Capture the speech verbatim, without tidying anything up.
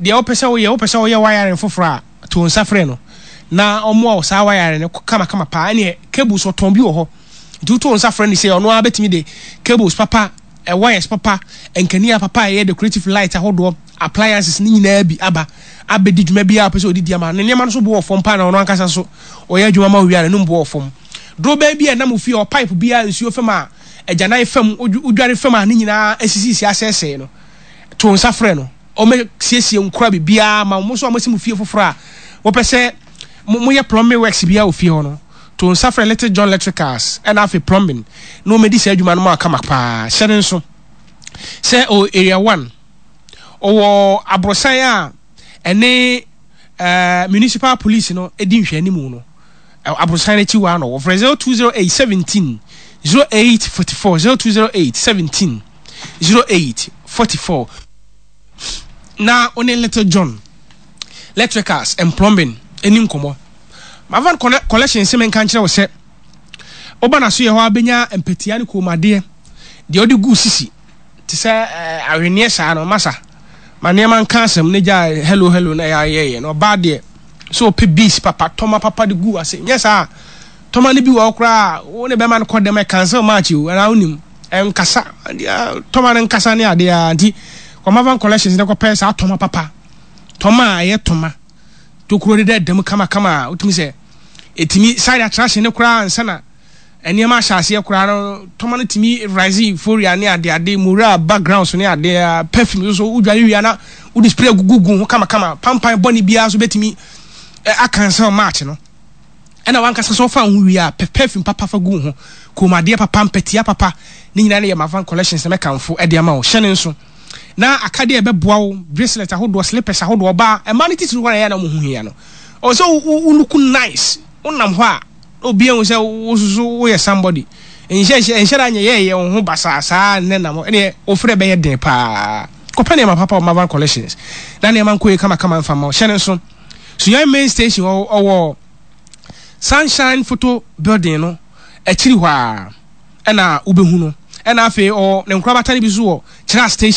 Deɛ wopɛ sɛ woyɛ, wopɛ sɛ woyɛ wiring foforɔ a, to nsa frɛ no na ɔmmoa wo saa wiring no kamakama paa. Ɛneɛ cables ɔtɔn bi wɔ hɔ, nti woto nsa frɛ no sɛ ɔno ara bɛtumi de cables papa, eh, wires papa, nkanea papa a ɛyɛ decorative light ahodoɔ, appliances ne nyinaa bi aba abɛdi dwuma biara a wopɛ sɛ ɔde di ama ne nneɛma no so bo wɔ fam paa. Na ɔno ankasa so ɔyɛ adwuma ma wo wie a, n'anum bo wɔ fam. Dorobɛn bi a ɛnam ofie hɔ, pipe bi a nsuo fam a agyanan fam, wodware fam a ne nyinaa asisisi asɛesɛe no, to nsa frɛ no, ɔmɛsiesie nkora biribiara ma mo. Nso a moasi mo fie foforɔ a wɔpɛ sɛ moyɛ plumbing works biara wɔ fie hɔ no, to nsa frɛ Little John Electricals ɛna afei Plumbing na wɔmɛdi saa adwuma no mu akama paa. Hyɛ ne nso sɛ ɔwɔ Area one, ɔwɔ aborosan a ɛne uh, municipal police no di nhwɛanimu no, aborosan no akyi hɔ ano. Wɔfrɛ zero two zero eight seventeen zero eight forty-four, zero two zero eight seventeen zero eight forty-four, na ɔne Little John Electricals and Plumbing ɛni nkɔmɔ. Mavan Collection sɛ menka nkyerɛ wo sɛ woba na so yɛ hɔ abɛnya mpatia ne kɔnmuadeɛ deɛ ɔde gu sisi te sɛ ahwenneɛ saa no. Masa ma nneɛma nka asɛm ne gya hello hello na ɛyɛ ayɛyɛ na ɔbaa deɛ sɛ ɔpɛ beads papa, tɔma papa de gu ase. Nyɛ saa tɔma no bi wɔ hɔ koraa, wo ne bɛma no kɔ dɛm, cancel match o, ɛna wonim ɛnkasa tɔma no nkasa ne adeɛ a. Nti kɔmavan Collections ne kɔpɛ saa tɔma papa, tɔma a ɛyɛ tɔma tokuro de dɛ dɛm kamakama a wotumi sɛ ɛtumi side attraction ne koraa nsa na nneɛma ahyɛ aseɛ koraa no. Tɔma no tumi rise euphoria ne adeade mura backgrounds ne adeɛ, perfume nso wodware wia na wode spray gugu ho kamakama, pampan bɔne biara so bɛtumi acancel match no. Ɛna wankasa so ɔfa ho wie a, perfume papa fa gu ho, kɔnmuadeɛ papa, mpɛtia papa ne nyinaa no yɛ Mavan Collections na mɛkamfo ɛde ama wo. Hyɛ ne nso na akadeɛ ɛbɛboa wo, bracelet ahodoɔ, slippers ahodoɔ. Ɔbaa, ɛmaa no titiri hɔ na ɛyɛ na mo ho hia no, ɔwɔ sɛ wo look nice, wonam hɔ a obi ehu sɛ wo soso woyɛ somebody. Nhyɛ nhyɛ nhyɛ da nyɛ yɛyɛ wo ho basaa saa nnɛ nam ɛneɛ ofrɛ bɛyɛ den paa. Kɔpɛ nneɛma papa wɔ Mavan Collections na nneɛma nkɔ yie kamakama mfa ma wo. Hyɛ ne nso Sunyani main station, ɔwɔ Sunshine Photo building no akyiri hɔ a ɛna wobɛhu no. Ɛna afei ɔwɔ ne nkorabata no bi so wɔ Kyerɛ station.